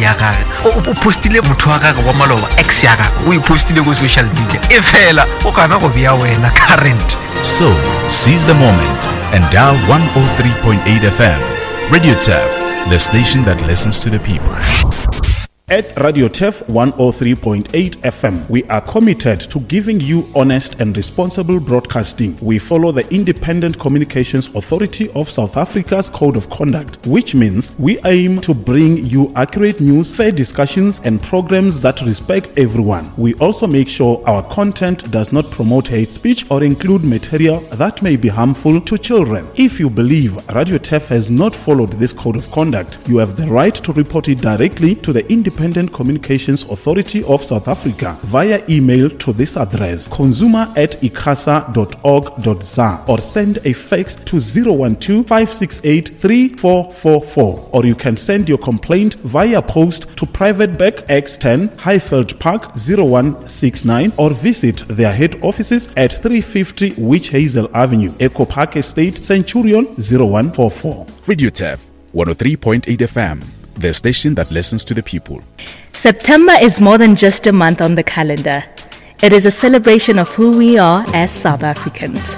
ya gage o postile motho wa gage wa maloba ex ya gage o e postile ko social media e fela o gana go bea wena current So, seize the moment and dial 103.8 FM. Radio Turf, the station that listens to the people. At Radio Turf 103.8 FM, we are committed to giving you honest and responsible broadcasting. We follow the Independent Communications Authority of South Africa's Code of Conduct, which means we aim to bring you accurate news, fair discussions, and programs that respect everyone. We also make sure our content does not promote hate speech or include material that may be harmful to children. If you believe Radio Turf has not followed this code of conduct, you have the right to report it directly to the Independent Communications Authority of South Africa via email to this address consumer at icasa.org.za or send a fax to 012 568 3444 or you can send your complaint via post to Private Bank X10 Highveld Park 0169 or visit their head offices at 350 Witch Hazel Avenue, Echo Park Estate, Centurion 0144. Radio Turf 103.8 FM, the station that listens to the people. September is more than just a month on the calendar. It is a celebration of who we are as South Africans.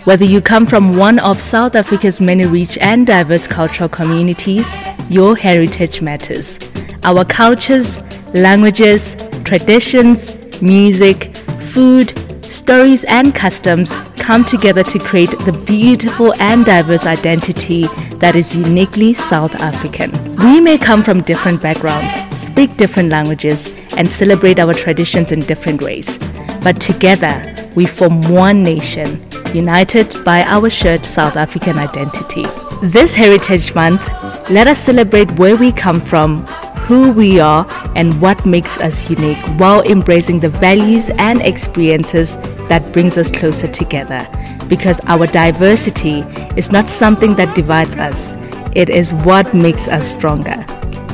Whether you come from one of South Africa's many rich and diverse cultural communities, your heritage matters. Our cultures, languages, traditions, music, food, stories, and customs come together to create the beautiful and diverse identity that is uniquely South African. We may come from different backgrounds, speak different languages, and celebrate our traditions in different ways. But together, we form one nation, united by our shared South African identity. This Heritage Month, let us celebrate where we come from, who we are, and what makes us unique while embracing the values and experiences that brings us closer together. Because our diversity is not something that divides us, it is what makes us stronger.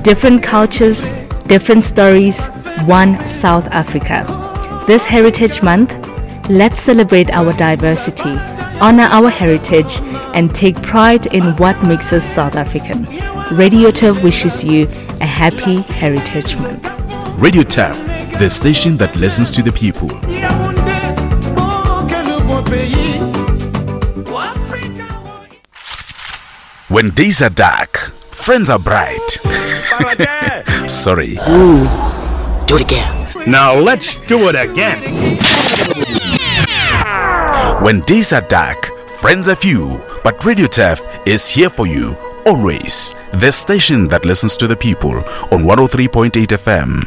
Different cultures, different stories, one South Africa. This Heritage Month, let's celebrate our diversity, honor our heritage, and take pride in what makes us South African. Radio Turf wishes you a happy Heritage Month. Radio Turf, the station that listens to the people. When days are dark, friends are bright. Sorry. Ooh, do it again. Now let's do it again. When days are dark, friends are few, but Radio Turf is here for you always. The station that listens to the people on 103.8 FM.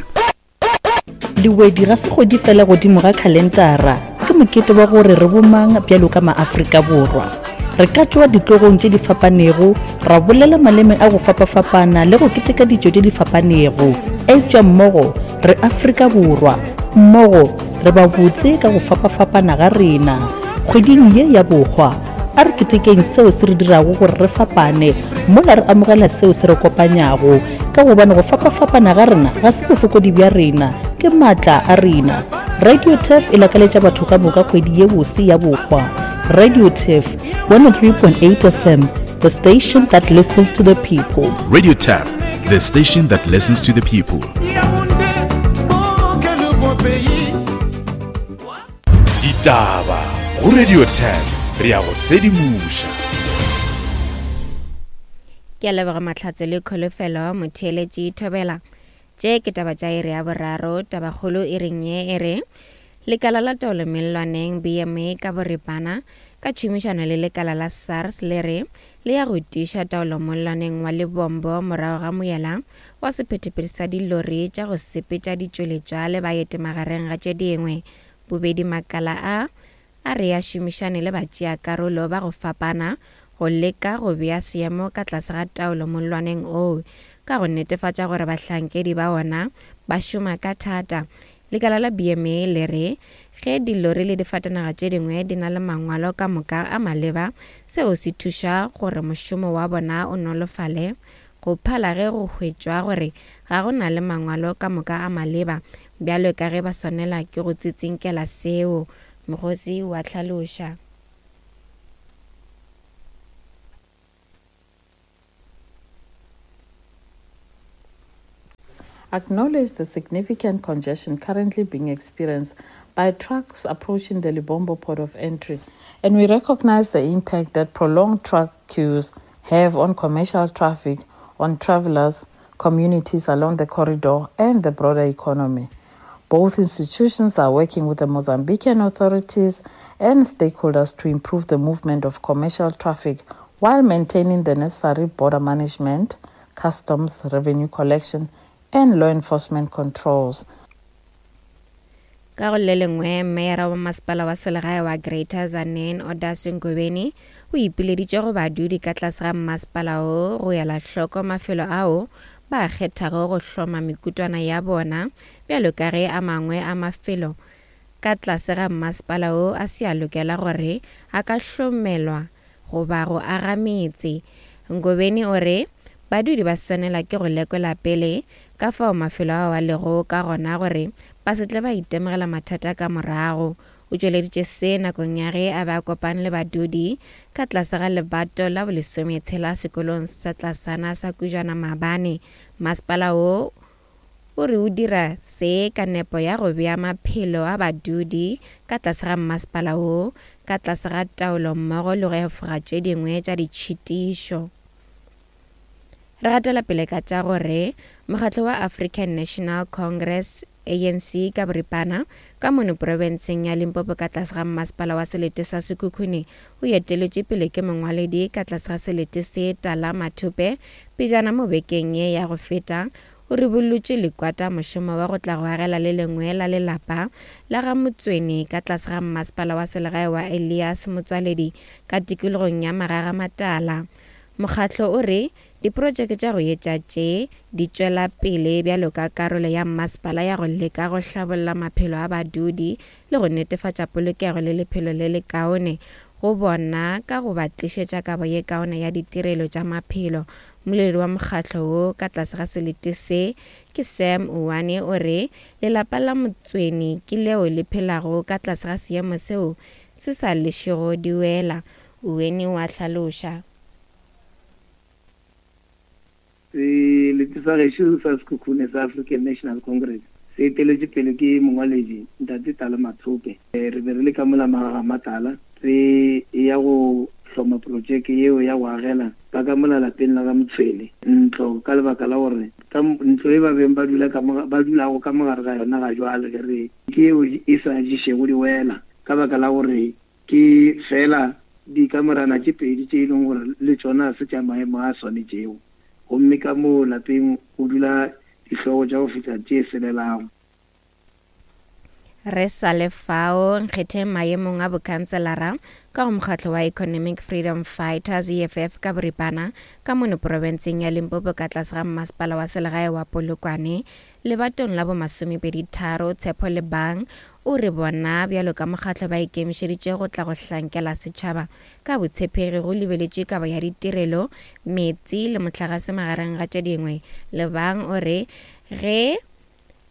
Lewedi ga se kgwedi fela godimo ga khalentara, ke mokete wa gore re bomang bjalo ka maAfrika Borwa. Re ka tšwa ditlogong tše di fapanego, ra bolela maleme a go fapafapana le go keteka ditšo tše di fapanego, eupša mmogo re Afrika Borwa, mmogo re ba botse ka go fapafapana ga rena. Kgweding ye ya Bohwa, a re ketekeng seo se re dirago gore re fapane mola re amogela seo se re kopanyago, ka gobane go fapafapana ga rena ga se bofokodi bja rena, ke maatla a rena. Radio Turf e lakaletša batho ka moka kgwedi ye bose ya Bohwa. Radio Turf, 103.8 FM, the station that listens to the people. Radio Turf, the station that listens to the people. Ditaba go Radio 10 re ya go sedimoša. Ke a leboga Mahlatse le Kholofelo Motheeletši Thobela. Tše ke taba tša iri ya boraro. Tabakgolo iring ye e re Lekala la Taolo Mellwaneng, BMA, ka boripana, ka tšhomišano le lekala la SARS le re le ya go tiiša taolo mollwaneng wa Lebombo morago ga moela wa sephethephethe sa dilori tša go sepetša ditšweletšwa le baeti magareng ga tše dingwe. Bobedi makala a a re a šomišane le batšeakarolo ba go fapana go leka go bea seemo ka tlase ga taolo mollwaneng oo ka go netefatša gore bahlankedi ba ona ba šoma ka thata. Lekala la BMA le re ge dilori le difatanaga tše dingwe di na le mangwalo ka moka a maleba, seo se thuša gore mošomo wa bona o nolofale go phala ge go hwetšwa gore ga go na le mangwalo ka moka a maleba bjalo ka ge ba swanela ke go tsitsinkela seo, Mokgotsi wa hlaloša. acknowledged the significant congestion currently being experienced by trucks approaching the Lebombo port of entry, and we recognize the impact that prolonged truck queues have on commercial traffic, on travelers, communities along the corridor, and the broader economy. Both institutions are working with the Mozambican authorities and stakeholders to improve the movement of commercial traffic while maintaining the necessary border management, customs, revenue collection, and law enforcement controls. Ka go le lengwe, meyara wa masepala wa selegae wa Greater Tzaneen, Odas Ngobeni, o ipileditše go badudi ka tlase ga mmasepala wo go ela hloko mafelo ao ba a kgethago go hloma mekutwana ya bona bjalo ka ge a mangwe a mafelo ka tlase ga mmasepala wo a se a lokela gore a ka hlomelwa goba go aga metse. Ngobeni o re badudi ba swanela ke go lekola pele ka fao mafelo ao a lego ka gona gore ba se tle ba itemogela mathata ka morago. O tšweleditše se nakong ya ge a be a kopane le badudi ka tlase ga lebato la bolesometshela sekolong sa tlasana sa Kujwana maabane. Masepala wo O re o dira se ka nepo ya go bea maphelo a badudi ka tlase ga mmasepala wo ka tlase ga taolo mmogo le go efoga tše dingwe tša ditšhitišo. Re gatela pele ka tša gore mokgatlo wa African National Congress, ANC, ka boripana, ka mono profenseng ya Limpopo ka tlase ga mmasepala wa selete sa Sekhukhune o eteletše pele ke mongwaledi ka tlase ga selete se Tala Mathupe pejana mo bekeng ye ya go feta O ribollotše Lekwata mošomo wa go tla go agela le lengwe la lelapa la ga Motsweni ka tlase ga mmasepala wa selegae wa Elias Motswaledi ka tikologong ya Magagamatala. Mokgatlo o re diprotšeke tša go etša tše di tšwela pele bjalo ka karolo ya mmasepala ya go leka go hlabolla maphelo a badudi le go netefatša polokego le lephelo le lekaone go bona ka go ba tlišetša kabo ye kaone ya ditirelo tša maphelo. Mmoledi wa mokgatlo wo ka tlase ga selete se ke Sam Uwane o re lelapa la Motsweni ke leo le phelago ka tlase ga seemo seo se sa lešego di wela. Uweni o a hlaloša. Selete sa gešo sa Sekhukhune sa African National Congress se eteletšwe pele ke mongwaledi Ntate Tala Mathope. Re be re le ka mola Magagamatala re eya go hloma projeke yeo ya go agela ba ka mola lapeng la ga Motshwele ntlo ka lebaka la gore ka ntlo e ba beng ba dula ka mo ba dulago ka mo gare ga yona ga jwale ge re ke yeo e sa ješego diwela ka baka la gore Ke feela dikamorana tše pedi tše e leng gore le tšona ga se tša maemo a swanetšego, gomme ka moo lapeng go dula dihlogo tša go fihla tše selelago. Re sa le fao, nkgetheng maemong a bokhanselara ka go mokgatlo wa Economic Freedom Fighters, EFF, ka boripana ka mono profenseng ya Limpopo ka tlase ga mmasepala wa selegae wa Polokwane lebatong la bomasomepeditharo Tshepo Lebang O re bona bjalo ka mokgatlo ba ikemišeditše go tla go hlankela setšhaba ka botshepegi go lebeletše kabo ya ditirelo, meetse le mohlagase magareng ga tše dingwe. Lebang o re ge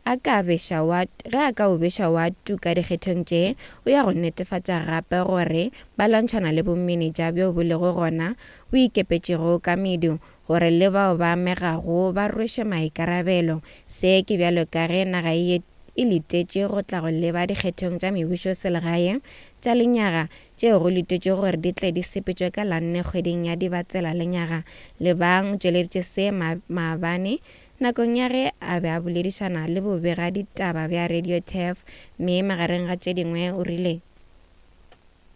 a ka beša wa ge a ka o beša wa tuka dikgethong tše, o ya go netefatša gape gore ba lwantšhana le bomenetša bjo bo lego gona bo ikepetšego ka medu gore le bao ba amegago ba rwešwe maikarabelo. Se ke bjalo ka ge naga e e letetše go tla go leba dikgethong tša mebušoselegae tša lenyaga tšeo go letetšwego gore di tle di sepetšwe ka la nne kgweding ya Dibatsela lenyaga. Lebang o tšweleditše se maabane nakong ya ge a be a boledišana le bobegaditaba bja Radio Turf mme magareng ga tše dingwe o rile.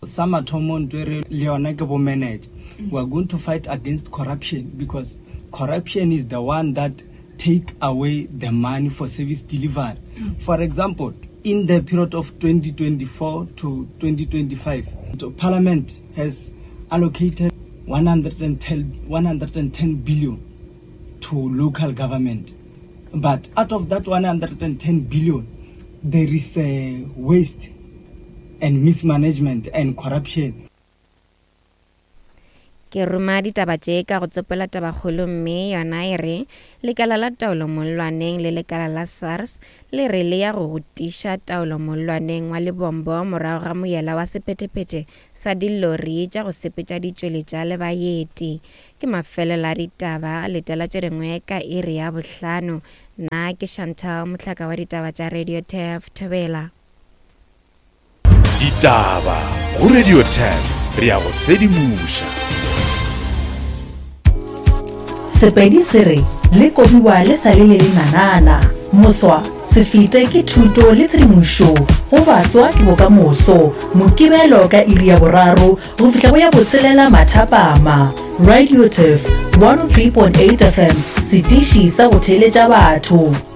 Sa mathomo ntho e re le yona ke bo manager. We are going to fight against corruption because corruption is the one that take away the money for service delivery. For example, in the period of 2024 to 2025, the parliament has allocated 110, 110 billion to local government. But out of that 110 billion, there is a waste and mismanagement and corruption. Ke ruma ditaba tše ka go tsopola tabakgolo mme yona e re lekala la taolo mollwaneng le lekala la SARS le re le ya go go tiša taolo mollwaneng wa Lebombo morago ga moyela wa sephethephethe sa dillori tša go sepetša ditšweletša le baeti. Ke mafelelo a ditaba, letela tše dingwe ka iri ya bohlano. Nna ke Chantal Mohlaka wa ditaba tša Radio Turf Thobela. Ditaba go Radio 10 re ya go sedimoša. Sepedi se re le kobiwa le sa le le lenanana. Moswa, se fete ke thuto le tshedimošo go baswa ke bokamoso. Mokibelo ka iri ya boraro go fihla go ya botshelela mathapama. Radio Turf 103.8 FM, setiši sa go theeletša batho.